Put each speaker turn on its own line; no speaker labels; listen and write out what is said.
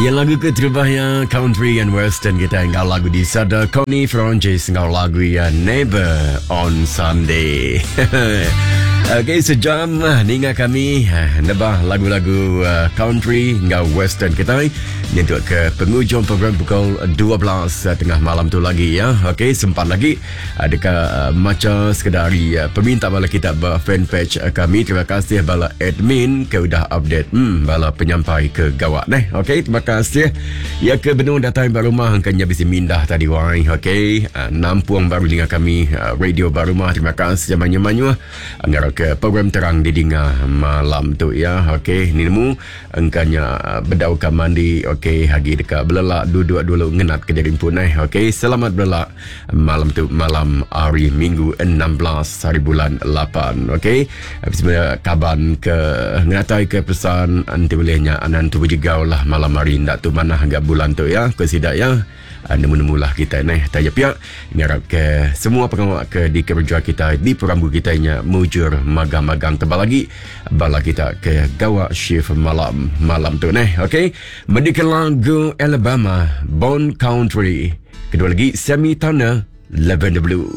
Ya lagu keterubah ya country and western kita enggau lagu di sada Connie Francis enggau lagu ya Never on Sunday. Okey sejam ah, ninga kami ah, nebah lagu-lagu ah, country enggau western kita nyentuk ke pengujung program pukul 12 tengah malam tu lagi ya. Okey sempat lagi Deka macha sekeda ari peminta bala kita ba fanpage kami. Terima kasih bala admin ke udah update hmm, bala penyampai ke gawa neh. Okey, terima kasih. Ya ke benung datai ba rumah angka nya bisi mindah tadi wai. Okey, nampung baru ninga kami radio ba rumah. Terima kasih mayuh-mayuh. Ngarap ke program terang didinga malam tu ya. Okey, ni nemu Engka nya bedau ka mandi ok agi deka belelak duduk dulu ngenat ke diri empu neh ok selamat belelak malam tu malam hari minggu 16 hari bulan 8 ok semua kaban ke ngenatai ke pesan enti ulih nya anan tu bejegau lah malam hari enda tu manah ga bulan tu ya ko sida ya. Nemu-nemu lah kitai neh. Taja pia, ngarap ke semua pengawa ke dikereja kitai di perambu kitai nya mujur magang-magang tebal agi bala kita ke gawa shift malam malam tu neh. Okey, mendika lagu Alabama, Bone Country. Kedua lagi Sammy Turner, Lavender Blue.